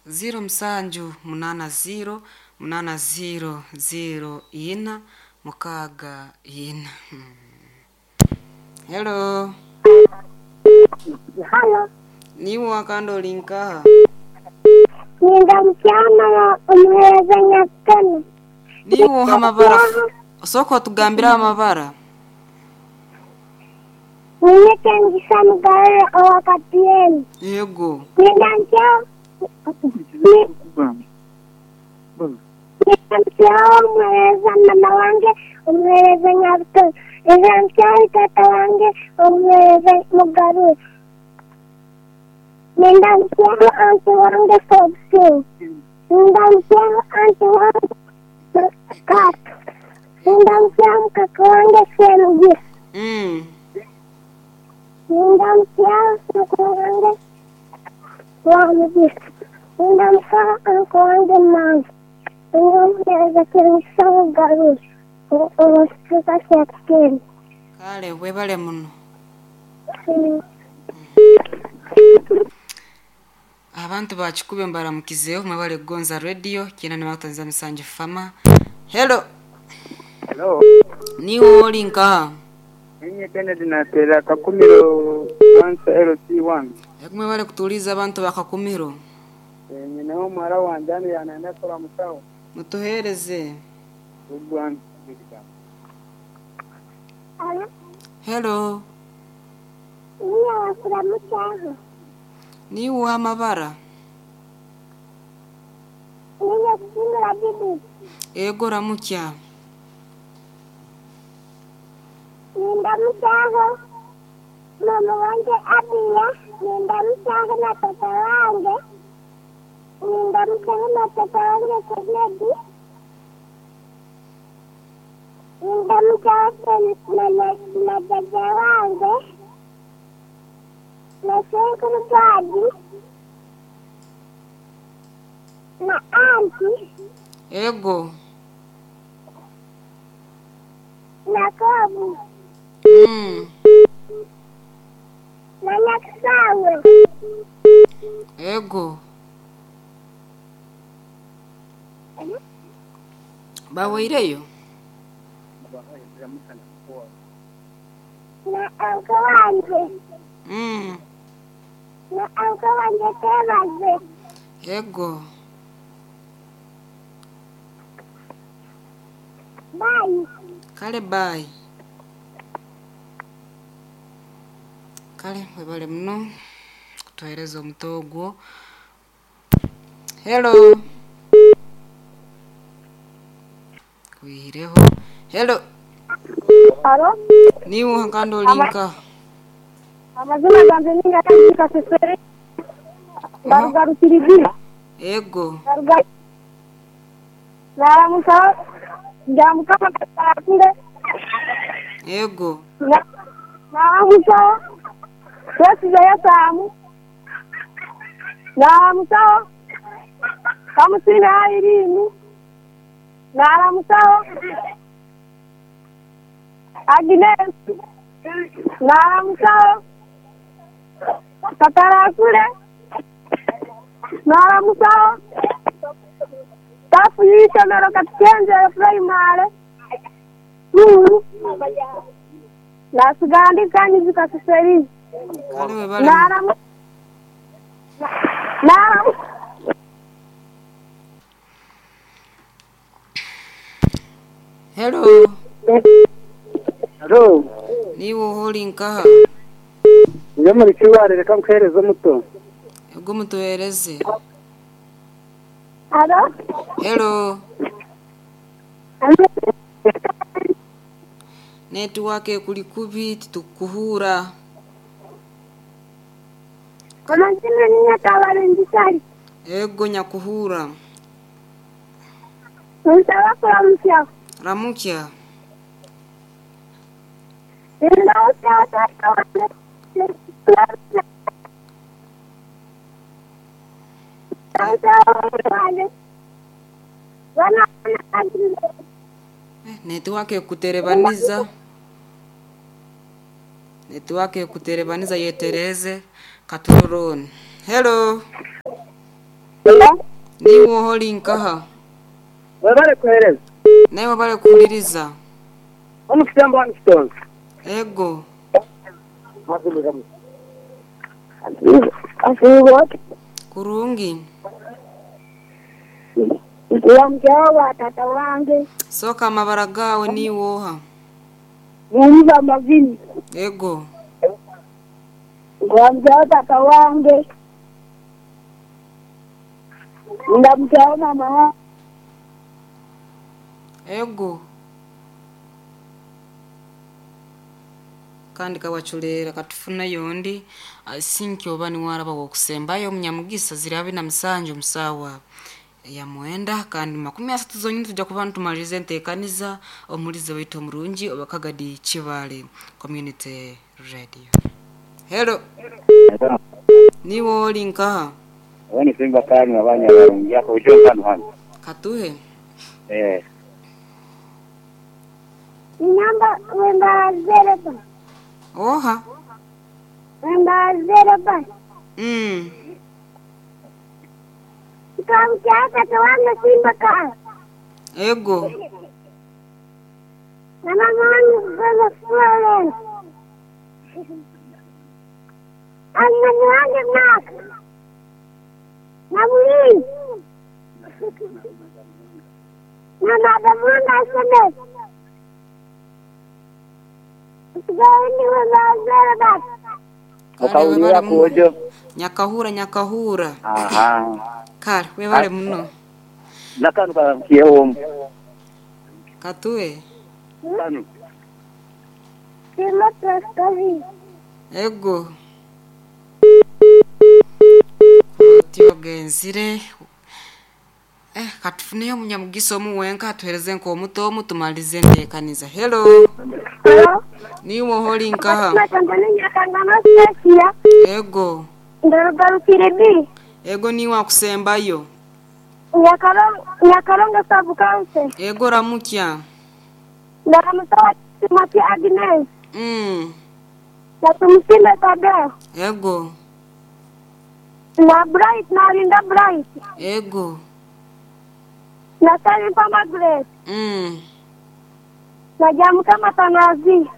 Ziro musanju munaana ziro munaana ziro ziro ina mukaaga ina. Hello. Halo, Niiwe wakandi oli nkaha? Ninda mukyama omuheereza Nyakutano. Niiwe oha amabara? Sooka otugambire amabara. Niinyeta Kemigisa Mugarura owa Katiyeni. Yego. Ninda mukyama Ninda mukyama omuheereza mama wange omuheereza Nyabutoro. Ninda mukyama taata wange omuheereza Mugarura. Ninda mukyama anti wange Fobusimu. Ninda mukyama anti wange Kato. Ninda mukyama kaka wange Semugisa. Ninda mukyama mukuru wange Wamugisa. Ninda mukyama anko wange Manzi. Ninda omuheereza Kemigisa Mugarura omu kicweka kya Kitembe. Kale webale muno. Abantu bakikube mbaramukizeho mwebale kugonza radio kyenda nibakutanza musanju fama. Hello. Hello. Niiwe oli nkaha? Ninye Kennedy nateera Kakumiro Cancer LC1. Ego mwebale kutuliza abantu ba Kakumiro. Nyineho omuhara wangye hanu yanayenda kuramusaho. Mutuheereze. Ogwa Halo, Hello. niiwe wakuramukyaho. Niiwe oha amabara? Niiwe kuhindura Judith. Ego ramukya. Nindamukyaho mama wange Abiya, nindamukyaho na tata wange, nindamukyaho na tata wange Kennedy, nindamukyaho na jajja wange, na Senkuru Gadi, na anti, Ego. na Kobu, na Nyakisawe. Ego. Baweireyo? Na anko wange, na anko wange Twebaze. Ego. Bye. Kale bye. Kale webale muno kutuheereza omuto ogwo. Hello. Kwihireho. Hello. Halo, Niiwe kandi oli nkaha? amazina gange ninga Kasesere ngaruga Rukirigiri Ego. ngaruga naramusa nja Mukama katakure Ego. naramusa twesize Yesamu naramusaho Kamusine Airini naramusaho Agnes naramusaho Katarakure naramusaho tafu y'isomero Katukenze Primary School nasigara ndi Kanyizi Kaseseri Kale webale muno. naramu naramu Hello. Hello. Niiwe oha oli nkaha? Nje muri kiware reka nkuhereze omuto. Ego mutuheereze. Halo, Hello. Network ekuli kubi titukuhuura. amazina ni Nyakabaringisari. Ego nyakuhuura. Nsaba kuramukya. Ramukya. Nindamukyaho tata wange. Tata wange. Bana Network ekuterebaniza. Network ekuterebaniza yetereze katuroroni. Hello. Niwe oholi nkaha? Webale kuhereza. Nawe webale kuhuliriza. Omukisembo wanu kitonzo. Ego. Asiibote. Kurungi. Nkulamukyaho tata wange. Soka amabara gawe niwe oha? Mumba mavini. Ego. Nkulamukyaho tata wange. Ndamukyaho mama wange. Ego. Kandi kawachulera katufuna yondi asinki oba niwaraba wokusembayo omunyamugisa ziri 27 omusawa ya 9 kandi 30 zonyini tujja kuba ntumaliriza enteekaniza omulizi waitu omurungi obakagadi Kibale Community Radio. Hello. Niwe oli nkaha? Wani simba kanu abanya barungi yako ujo kanu hano. Katuhe. Namba wemba zero. Oha. Wemba zero. Nkamukyaho tata wange simba kanu. Ego. Na mama wange kugoza Florence. Anani wange Mark. Na Mulini. Na baba wange SMS. Okawulira kuojo. Nyakahura nyakahura. Aha. Kale webale muno. Nakanu kakiyewo. Katuwe. Kanu. Sima traskazi. Ego. Tiyogenzire. Katufuneyo munyamugiso omuwenka atuhereze nk'omuto omu tumalize enteekaniza. Hello. Hello. Niwe oholi nkaha? Ego. Ndarugarukire. Ego niwe akusembayo. Nyakaronga sub county. Ego ramukya. Ndaramusawa Timothy Agnes. Na tumusime Tadeo. Ego. Na Bright na Linda Bright. Ego. Na Salim Margaret. Na Jamuka Matanazi.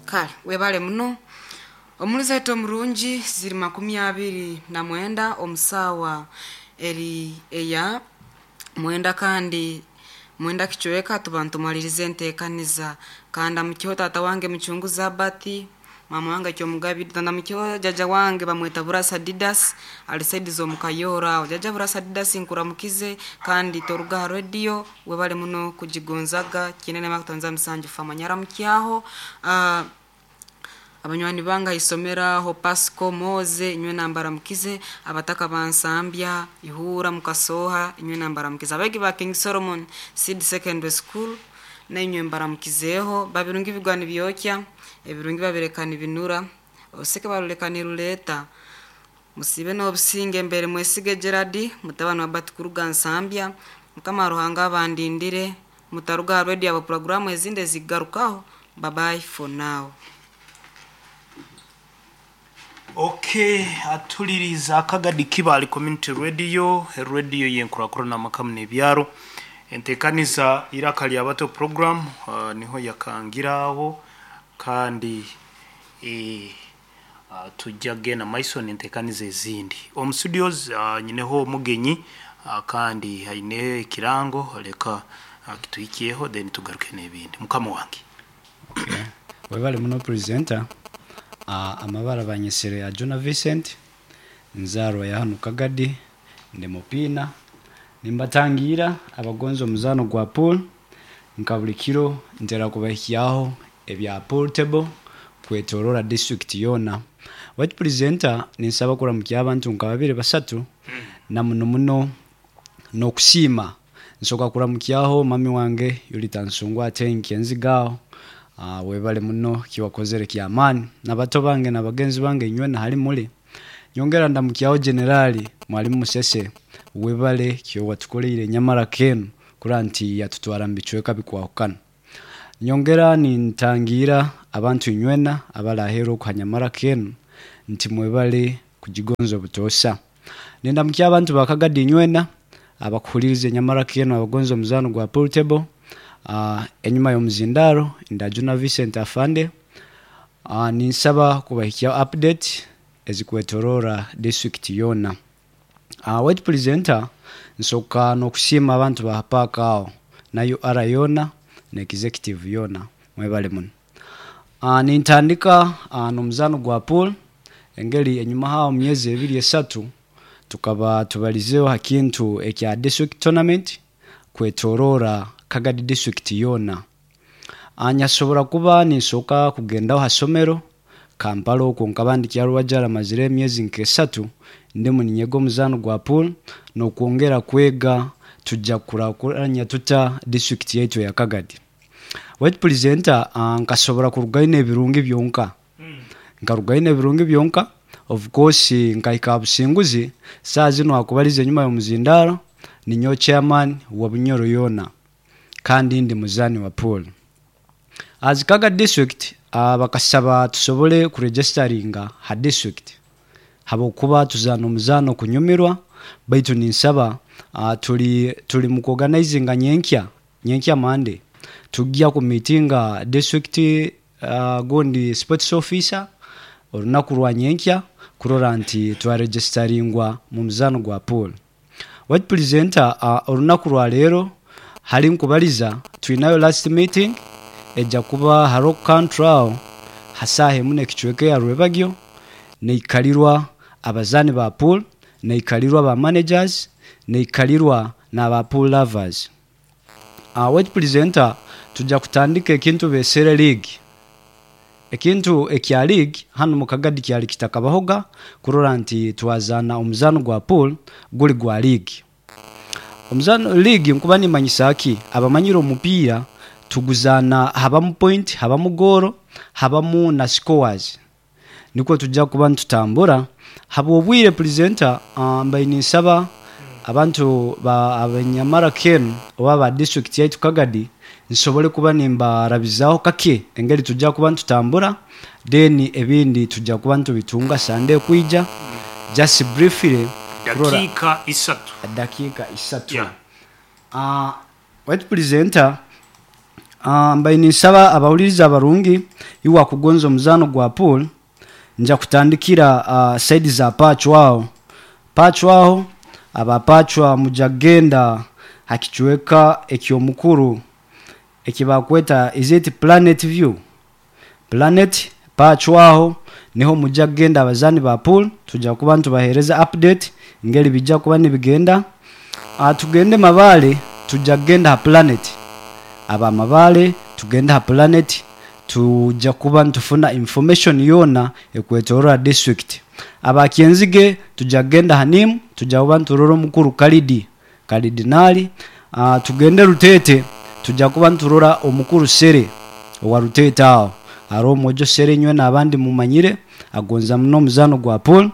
Kale webale muno. Omulizi waitu omurungi ziri 29 omusawa eri eya 9 kandi 9 kichweka tuba ntumalirize enteekaniza. Kandi amukiho tata wange muchunguza Abati, mama wange Kyomugabi, tanda jaja wange bamweta Burasa Didas alisaidiza omukayora. Jaja Burasa Didas nkuramukize kandi toruga radio webale muno kujigonzaga kinene makutanza musanju famanyara mukyaho. Abanywani banga isomera ho Pasco Moze inywe nambara mukize, abataka bansambya ihura mukasoha inywe nambara mukize, abegi ba King Solomon Seed Secondary School na inywe mbara mukizeho. Babirungi bigwani byokya ebirungi babirekana binura oseke barulekana ruleta musibe n'obusinge mbere mwesige Gerard mutabano wa Batikuruga Nsambya. Mukama Ruhanga abandindire mutaruga radio abo programu ezinde zigarukaho. Bye bye for now. Okay, atuliriza akagadi Kibale Community Radio, radio yenkurakura na makamu n'ebyaro. Entekaniza iraka lya bato program niho yakangiraho kandi tujja gena Maison entekaniza ezindi. Omu studios nyineho omugenyi kandi haine ekirango leka kituhikiyeho then tugaruke n'ebindi. Mukama wange. Okay. Webale muno presenter. Amabara banyesere ya Jonah Vincent nzarwa ya hano Kagadi ndi mupina nimbatangira abagonzo omuzano gwa pool nka buli kiro ntera kubahikyaho ebya pool table kwetorora district yona. White presenter ninsaba kuramukya abantu nka babiri basatu na muno muno nokusiima nsoka kuramukyaho mami wange Yulita Nsungwa atenki enzigao. Webale muno kiwakozere kiamani na bato bange na bagenzi bange inywe na hali muli. Nyongera ndamukyaho generali mwalimu Musese webale kyo watukoleire nyamara kenu kuranti yatutwara mbichweka bikwahukana. Nyongera nintangira abantu inywena abalahero kuhanyamara kenu nti mwebale Kugigonza obutoosa. Nindamukya abantu ba Kagadi nywena abakuhuliriza enyamara keno abagonza omuzano gwa pool table. Enyuma y'omuzindaro ndajuna Vincent Afande. Ninsaba kubahikya update ezikwetorora district yona. Wait presenter, nsoka n'okusiima abantu ba paaka aho na UR yona na executive yona, mwebale muno. Nintandika n'omuzano gwa pool. Engeri enyuma hawo myezi ebiri esatu tukaba tubalizeho ha kintu ekya district tournament kwetorora Kagadi district yona. Nyasobora kuba ninsoka kugendaho ha somero Kampala okwo nkaba ndi Kyarwajara mazire emyezi nk'esatu ndimu ninyega omuzano gwa pool n'okwongera kwega tujja kukurakuranya tuta district yaitu ya Kagadi. Wait presenter, nkasobora kurugayo n'ebirungi byonka, nkarugayo n'ebirungi byonka. Of course nkahika ha businguzi. Saa zino akubaliza enyuma y'omuzindaro ninyo chairman wa Bunyoro yona kandi ndi muzani wa pool. As Kaga district, bakasaba tusobole kuregisteringa ha district habwokuba tuzaana omuzano kunyumirwa, baitu ninsaba tuli mu kuorganizinga nyenkya Monday tujja ku meetinga district gundi sports officer olunaku rwa nyenkya kurora nti twaregisteringwa mu muzano gwa pool. Wait presenter, olunaku rwa leero hali nkubaliza twinayo last meeting ejja kuba ha Rock Country aho hasaha emu n'ekicweka ya Rwebagyo, neikalirwa abazaani ba pool, neikalirwa ba managers, neikalirwa n'aba pool lovers. Wait presenter, tujja kutandika ekintu besere league. Ekintu ekya league hano mu Kagadi kyali kitakabahoga kurora nti twazana omuzano gwa pool guli gwa league. Omuzano league nkuba nimanyisa ki abamanyire omupiira tuguzana habamu point, habamu goro, habamu na scores, nikwo tujja kuba nitutambura habwobwire. Presenter, mbaire ninsaba abantu ba abanyamara kenu oba ba district yaitu Kagadi nsobole kuba nimbarabizaho kake engeri tujja kuba nitutambura, then ebindi tujja kuba nitubitunga Sunday kwija. Just briefly kurora Dakiika 3. Dakiika 3. Yeah. Wait presenter, mbaire ninsaba abawuliriza abarungi iwe kugonza omuzano gwa pool nja kutandikira side za Pachwa aho. Pachwa aho aba Pachwa mujja kugenda hakicweka ekyomukuru ekibakweta, is it Planet View? Planet Pachwa aho niho mujja kugenda abazani ba pool tujja kuba nitubahereza update ngeri bijja kuba nibigenda. Tugende Mabale, tujja kugenda ha Planet. Aba Mabale tugende ha Planet, tujja kuba nitufuna information yona ekwetorora district. Abakyenzige tujja kugenda hanimu, tujja kuba niturora omukuru Kalidi Kalidinali. Tugende Rutete, tujja kuba niturora omukuru Sere owa Rutete aho hariho omwojo Sere nywe n'abandi mumanyire agonza muno omuzano gwa pool.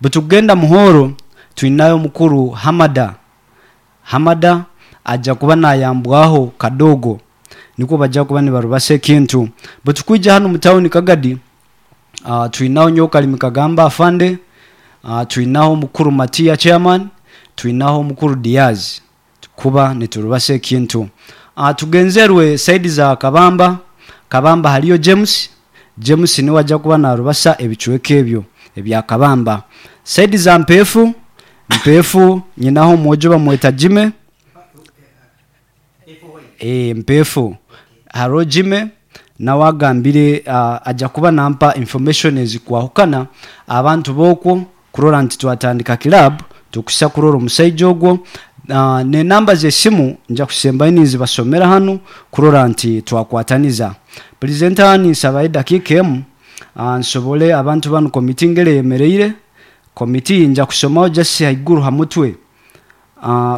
Bwetugenda Muhoro twinayo omukuru Hamada. Hamada ajja kuba nayambwaho kadogo nikwo bajja kuba nibarubasa ekintu. Bwetukwija hano mu tawuni Kagadi, twinaho Nyokalimi Kagamba afande, twinaho omukuru Matiya chairman, twinaho omukuru Diaz kuba niturubasa ekintu. Tugenzerwe side za Kabamba. Kabamba haliyo James. James niwe ajja kuba narubasa ebicweka ebyo ebya Kabamba. Side za Mpefu, Mpefu nyinaho omwojo bamweta Jime. Mpefu haro Jime nawe agambire ajja kuba nampa information ezikwahukana abantu bokwo kurora nti twatandika club tukusa kurora omusaija ogwo. Ne namba z'esimu nja kusembayo ninzibasomera hano kurora nti twakwataniza. Presenter, ninsabayo edakiika emu, nsobole abantu banu komiti ngere eyemereire komiti nja kusomaho just haiguru ha mutwe.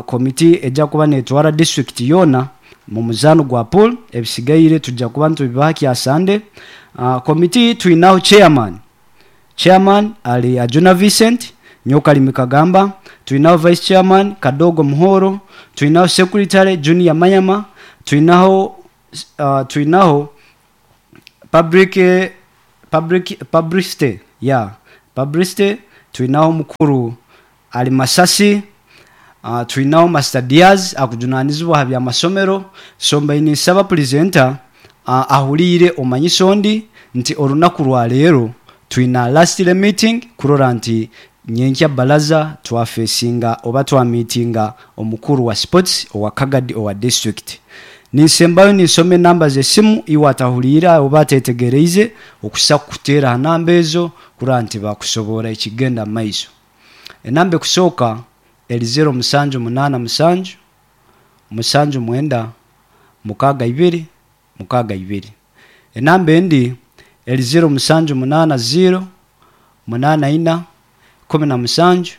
Komiti ejja kuba netwara district yona mu muzano gwa pool, ebisigaire tujja kuba nitubibaha kya Sunday. Komiti twinaho chairman, chairman ali Ajuna Vincent Nyokalimi Kagamba, twinaho vice chairman Kadogo Muhoro, twinaho secretary Junior Mayama, twinaho public publicity, yeah, publicity. Twinaho omukuru ali Masasi. Twinaho Master Diaz akujunanizibwa ha byamasomero. So mbaine ninsaba presenter ahuliire omanyise ondi nti orunaku rwa leero twina last meeting kurora nti nyenkya baraza twafesinga oba twamitinga omukuru wa sports owa Kagadi owa district. Ninsembayo ninsoma enamba z'esimu, iwe atahuliire oba atetegereize okusa kuteera ha namba ezo kurora nti bakusobora ekigenda mu maiso. Enamba ekusooka eri 0787 79 62 62. Enamba endi eri 0780 84 17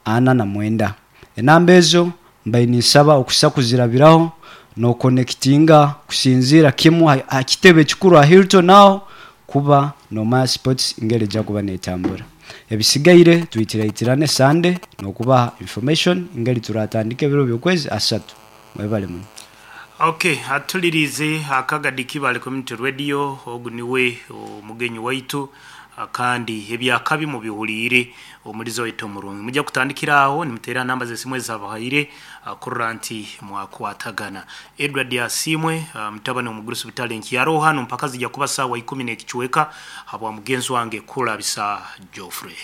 49. Enamba ezo mbaine ninsaba okusa kuzirabiraho nokonekitinga kusinziira kimu ha kitebe ekikuru ha Hilton, aho kuba nomanya sports ngeri ejja kuba netambura. Ebisigaire twitiraitirane Sande nokubaha information ngeri turatandika ebiro by'okwezi 3. Mwebale muno. Okay, atulirize Akagadi Kibale Community Radio, ogu niwe omugenyi waitu, kandi ebyakabi mubihuliire omulizo waitu omurungi. Mujja kutandikira aho nimuteera namba z'esimu ezabahaire, kurora nti mwakwatagana. Edward Asiimwe, mutabani omugurusi butale nkiyaroho hanu mpaka zijja kuba saawa 10 n'ekichweka habwa mugenzi wange Kulabisa Geoffrey.